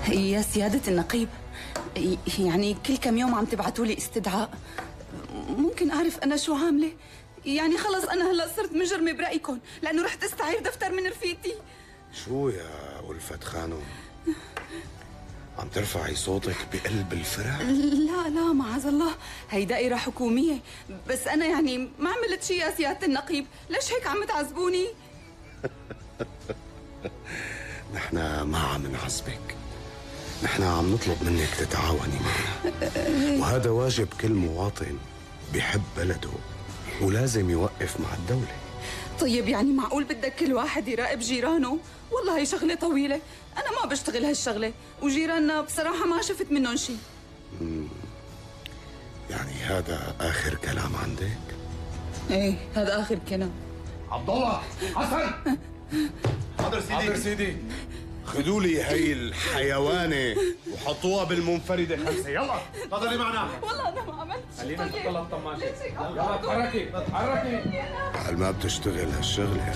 يا سيادة النقيب، يعني كل كم يوم عم تبعتوا لي استدعاء. ممكن أعرف أنا شو عاملة؟ يعني خلص أنا هلأ صرت مجرمة برأيكم لأنه رحت استعير دفتر من رفيقتي. شو يا ألفت خانم؟ عم ترفعي صوتك بقلب الفرع؟ لا معاذ الله، هي دائرة حكومية. بس أنا يعني ما عملت شي يا سيادة النقيب، ليش هيك عم تعذبوني؟ نحن ما عم نعذبك، نحن عم نطلب منك تتعاوني معنا، وهذا واجب كل مواطن بيحب بلده ولازم يوقف مع الدولة. طيب يعني معقول بدك كل واحد يراقب جيرانه؟ والله هي شغلة طويلة، أنا ما بشتغل هالشغلة، وجيراننا بصراحة ما شفت منهم شي. يعني هذا آخر كلام عندك؟ ايه هذا آخر كلام. عبد الله، حسن. حاضر سيدي. حاضر سيدي. خذوا لي هي الحيوانة وحطوها بالمنفردة 5. يلا تفضلي معنا. والله أنا ما عملت شي. خلينا طيب نحط الطماطم. ليش هيك عم يلا تعملوا؟ تحركي. قال ما بتشتغل هالشغلة.